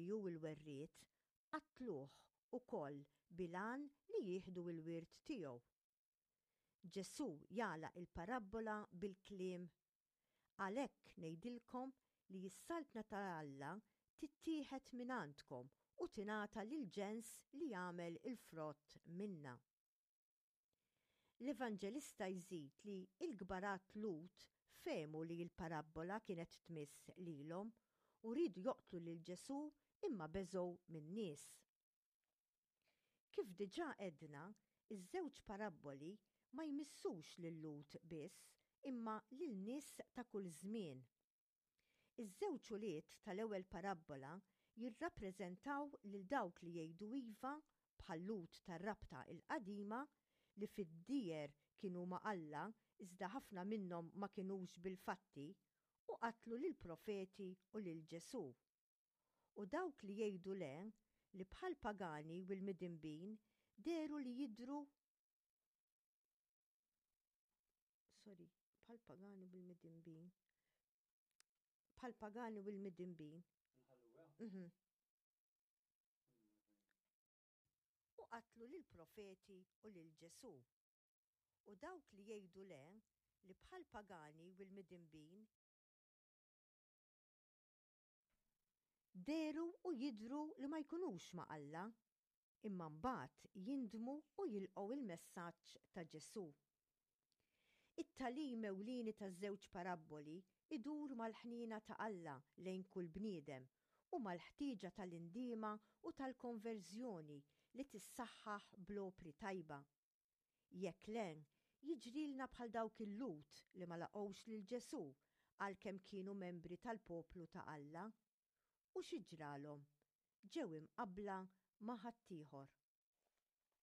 li hu l-werriet, qatluh ukoll bil-għan li jieħdu l-wirt tiegħu. Ġesù jagħlaq il-parabbola bil-kliem, Għalhekk ngħidilkom li s-saltna ta' Alla tittieħed mingħandkom u tingħata lill-ġens li jagħmel il-frott minnha. L-Evanġelista jżid li l-kbarat Lhud fehmu li l-parabbola kienet tmiss lilhom u riedu joqtlu lil Ġesù imma beżgħu min-nies. Kif diġà għedna, iż-żewġ parabboli ma jmissux lil-Lhud biss imma lil nies ta' kull żmien. Iż-żewġ ulied tal-ewwel parabbola jirrappreżentaw lil dawk li jgħidu iva bħal-Lhud tar-Rabta l-Qadima li fid-dieher kienu ma' Alla iżda ħafna minnhom ma kinux bil-fatti u qatlu lill-profeti u lil Ġesù. U dawk li jgħidu le, li bħall-pagani u l-midinbin dehru li jidhru sorry, bħall-pagani u l-midinbin bħall-pagani u l-midinbin. Mhm. U qatlu lill-profeti u lil Ġesù. U dawk li jgħidu le, li bħall-pagani u l-midinbin Dehru u jidhru li ma jkunux ma' Alla, imma mbagħad jindmu u jilqgħu l-messaġġ ta' Ġesù. It-tagħlim ewlieni taż-żewġ parabboli jdur mal-ħniena ta' Alla lejn kull bniedem u mal-ħtieġa tal-indiema u tal-konverżjoni li tissaħħaħ bl-opri tajba. Jekk le, jiġrilna bħal dawk il-Lhud li ma laqgħux lil Ġesù għalkemm kienu membri tal-poplu ta' Alla. U xi ġralhom? Ġew imqabbla ma' ħaddieħor.